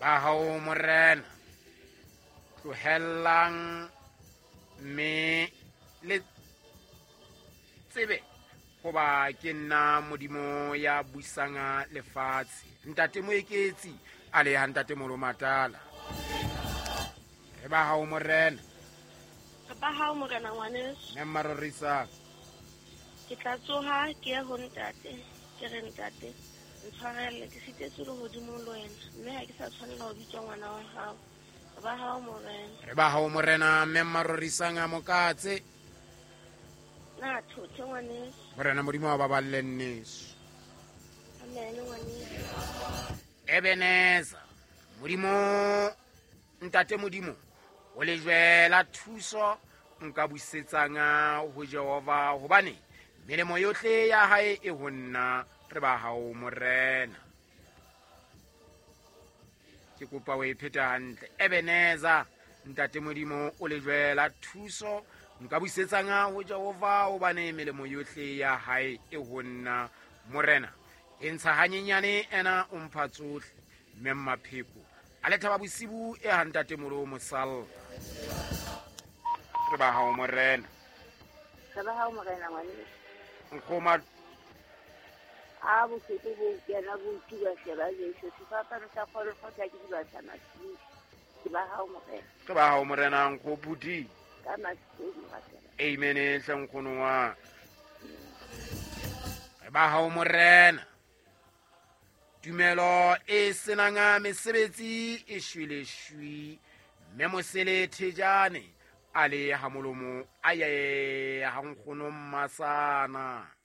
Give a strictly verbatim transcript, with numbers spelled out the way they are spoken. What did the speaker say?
Ba hao morena, tlohellang mme le tsebe hoba ke nna Modimo ya busang lefatshe. Ntate Moeketsi a le ha ntate Molomatala. Re ba hao morena. Re ba hao morena ngwaneso. Mme Mmarorisa. Ke tla tsoha ke ye ho ntate, ke re ntate ntshwarele ke sitetswe lehodimong le wena, mme ha ke sa tshwanela ho bitswa ngwana wa hao. Re ba hao morena. Re ba hao morena, mme Mmarorisang a mokatse. Na thothe ngwaneso. Morena Modimo wa baballe nneso. Amen ngwaneso. Ebeneza Modimo, ntate Modimo o lejwe la thuso nka busetsang ho Jehova, hobane melemo yohle ya hae e ho nna. Re ba hao morena. Ke kopa o e pheta hantle. Ebeneza ntate Modimo o lejwe la thuso nka busetsang ho Jehova, hobane melemo yohle ya hae e ho nna. Morena e ntsha hanyenyane ena o mpha tsohle. Mme Mmapheko a le thaba bosibu e ha ntate Molo Mosalla. Re ba hao morena. Re ba hao morena ngwaneso. Nkgoma a bohloko bo kena bo tuba sheba Jesu sefapano sa kgolokgotla ke dibatla masiu. Ke ba hao morena. Ke ba hao morena nkgopudi. Ka masiu morena. Amen hle nkgono wa. Re ba hao morena. Tumelo e senang mesebetsi e shwele shwi. Mme Mosele Thejane a le ha molomo a ye ha nkgono Mmasana.